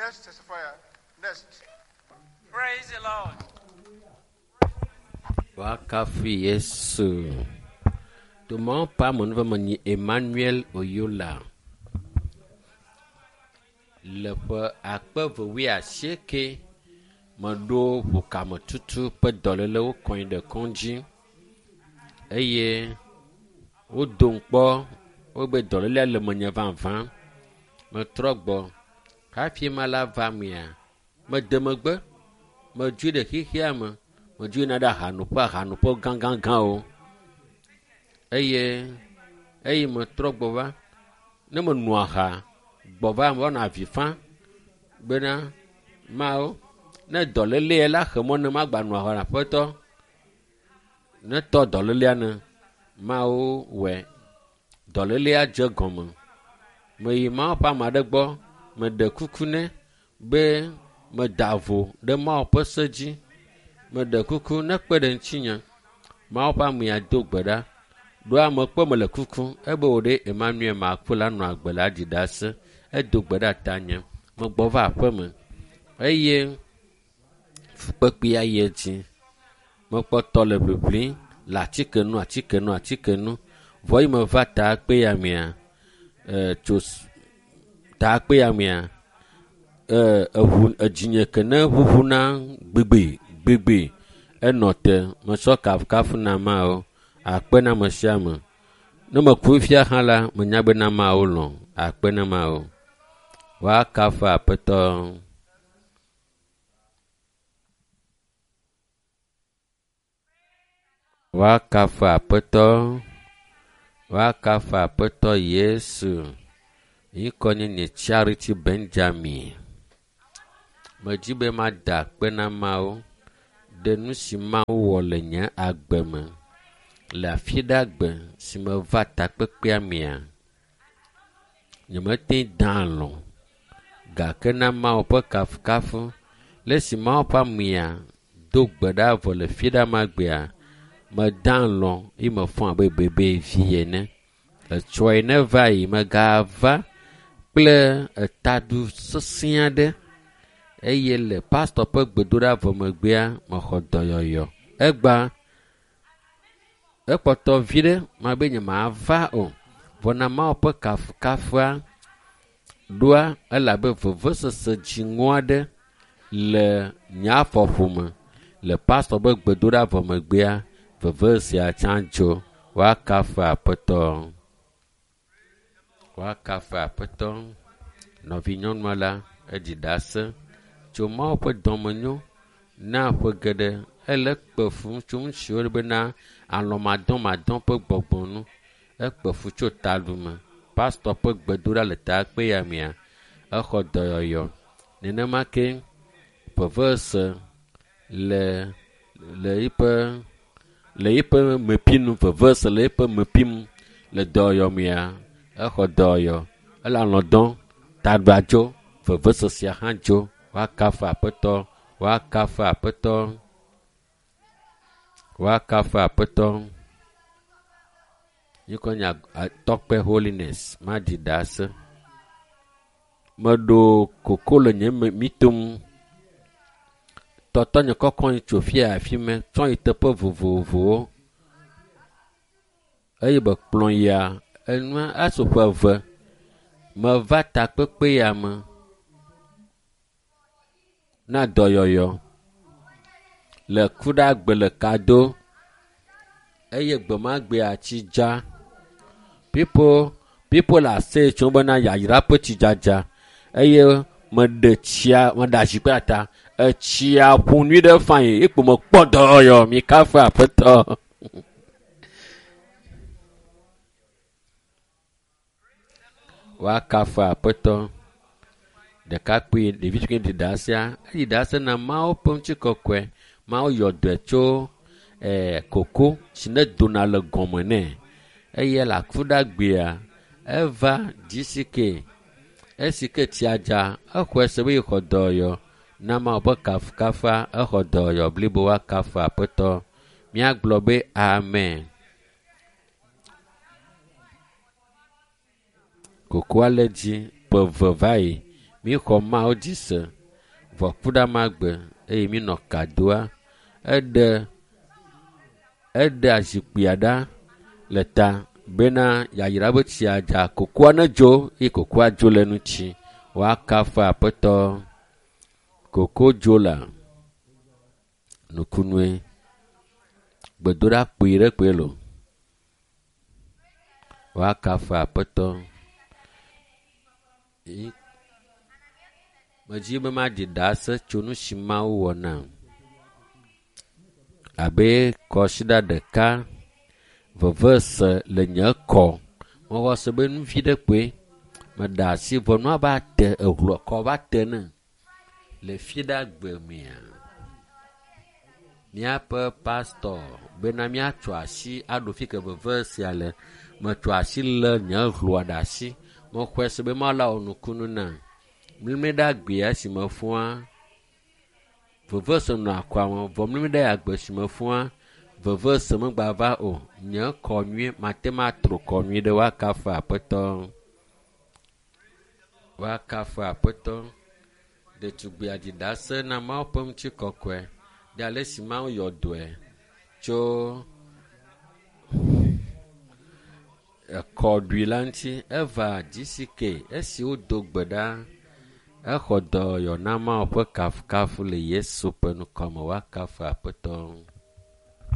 Next testifier. Next. Praise the Lord. Woakafu Yesu. Tomɔwo ƒe amenuveve nye Emmanuel Oyola. Le ƒe akpe eve wuiasieke meɖo ʋukametutu ƒe dɔlélewo kɔe ɖe kɔdzi eye wodom kpɔ wobe dɔlélea le menye vavã. Metrɔ gbɔ hafi ma la va mea, mede megbe, medzoe ɖe xexea me, medzoe yina ɖe ahanoƒe ahanoƒe gãgãgãwo eye eyi metrɔ gbɔ va, ne meno aha gbɔ va meva nɔ avi fam bena Mawu ne dɔléle la xe mɔ ne magba no aha na aƒetɔ netɔ dɔlélea ne Mawu wɔe. Dɔlélea dze gɔme. Meyi Mawu ƒe ame aɖe gbɔ, meɖe kuku nɛ be meda vo ɖe Mawu ƒe se dzi. Meɖe kuku nekpe ɖe ŋutinye. Mawu ƒe amea do gbe ɖa. Ɖoa mekpɔ mele kuku ebe wò ɖe Emmanuel maku la nɔ agbe la ɖi ɖase. Edo gbe ɖa tanye. Megbɔ va aƒeme eye fukpekpea yi edzi. Mekpɔtɔ le ʋiʋlim le atike nu atike nu atike nu. Vɔ yi meva takpea mea, e tso takpea mea, e eʋu edzinye ke ne ʋuʋuna gbigbi gbigbi enɔ te. Metsɔ kafukafu na Mawu. Akpe na ame sia ame. Ne meku fia hã la, menya be na Mawu lɔ̃. Akpe na Mawu. Woakafu Aƒetɔ. Woakafu Aƒetɔ. Woakafu Aƒetɔ Yesu. Ŋkɔ nye nye Charity Benjamin. Medzi be mada akpe na Mawu ɖe nu si Mawu wɔ le nye agbe me le afi ɖe agbe si meva takpekpea mea. Nyemete da alɔ̃ gake na Mawu ƒe kafukafu le esi Mawu ƒe amea do gbe ɖa vɔ le fi ɖe magbea, meda alɔ̃ eye mefɔ abe bebevi ene. Etsɔe ne va yi megava kple etadu sesẽ aɖe eye le pastɔ ƒe gbedoɖa vɔ megbea mexɔ dɔyɔyɔ. Egba ekpɔtɔ vi ɖe mabe nyemava o. Vɔ na Mawu ƒe kafukafua ɖoa elabe vevesese dziŋɔ aɖe le nye afɔƒome le pastɔ ƒe gbedoɖa vɔ megbea veve sia tsã dzo. Woakafu Aƒetɔ. Woakafu Aƒetɔ. Nɔvinyɔnua la eɖi ɖase tso Mawu ƒe dɔmenyo na ƒe geɖe ele kpe fu tso nu siwo bena alɔmadɔmadɔ ƒe gbɔgbɔ nu. Ekpe fu tso taɖume. Pastɔ ƒe gbedoɖa le takpea mea, exɔ dɔyɔyɔ. Nenema ke vevese le le eƒe le eƒe mepinu vevese le eƒe mepim le dɔyɔyɔ mea, exɔ dɔyɔyɔ. Ele alɔ̃ dɔm, taɖua dzo, vevesesea hã dzo. Woakafu Aƒetɔ. Woakafu Aƒetɔ. Woakafu Aƒetɔ. Ŋkɔ nye Tɔkpe Holiness maɖi ɖase. Meɖo koko le nye mitom. Tɔtɔ nye kɔkɔ yi tso fia afi mɛ tsɔ yi teƒe vovovowo eye be kplɔ yia enua eso ƒe eve. Meva takpekpe ya me na dɔyɔyɔ le kuɖagbe le kado eye gbemagbea tsi dza. People people are saying tso bena yayra ƒe tsidzadza eye meɖe tsia meɖe azikpui ta etsia ƒo nyui ɖe fain ekpo mekpɔ dɔyɔyɔ mi kafu Aƒetɔ. Woakafu Aƒetɔ. Ɖekakpui ɖevi si ke ɖi ɖasea, eɖi ɖase na Mawu ƒe ŋutikɔkɔe. Mawu yɔ dɔe tso ɛɛ koko si ne dona le gɔme nɛ eye le akuɖagbea eva GCK esi ke tsia dza exɔe se be yexɔ dɔyɔyɔ na Mawu ƒe kafukafua exɔ dɔyɔyɔ blibo woakafu Aƒetɔ. Míagblɔ be amen. Kokoa le dzi ƒe eve va yi. Míxɔ Mawu dzi se vɔ ku ɖe amagbe eye mínɔ kadoa. Eɖe eɖe azikpuia ɖa le ta bena yayra be tsia dza kokoa ne dzo eye kokoa dzo le ŋuti. Woakafu Aƒetɔ. Koko dzo la nukunue. Gbedoɖa kpui ɖe kpoe lo. Woakafu Aƒetɔ. Medzi be maɖi ɖase tso nu si Mawu wɔ nam. Abe kɔsiɖa ɖeka veve se le nye kɔ. Mexɔ se be nu vi ɖe kpoe. Meɖe asi vɔ nua va te ehlɔ kɔ va te ne le fi ɖe agbe mea. Míaƒe pastɔ bena míatso asi aɖo fi ke veve sia le. Metso asi lé nye hlɔa ɖe asi. Mexɔe se be Mawu la wɔ nukunu nam. Mlimli ɖe agbea si mefɔa veve se nɔ akɔa me vɔ mlimli ɖe agbe si mefɔa veve se megba va o. Nye kɔ nyuie mate ŋu atro kɔ nyuie ɖe woakafu Aƒetɔ. Woakafu Aƒetɔ. Ɖetugbui aɖi ɖase na Mawu ƒe ŋutikɔkɔe ɖe ale si Mawu yɔ dɔe tso ekɔɖui la ŋuti. Eva GCK esi wodo gbe ɖa exɔ dɔyɔ na Mawu ƒe kafukafu le Yesu ƒe ŋkɔme. Woakafu Aƒetɔ.